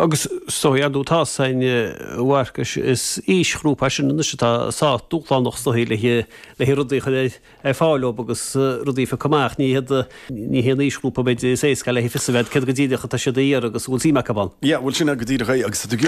Agus is dóigh, ar ndóigh, tá 's againn, a Mharcais, is aoisghrúpa é sin anois atá sách dúshlánach is dóigh le le rudaí a chur ar fáil dóibh agus rudaí a phiocadh amach. Ní hiad, ní hé an aoisghrúpa b'fhéidir is éasca le fios a bheith céard go díreach atá siad a iarraidh agus an bhfuil suim acu ann. Yeah, bhuel sin é go díreach é agus tá tú.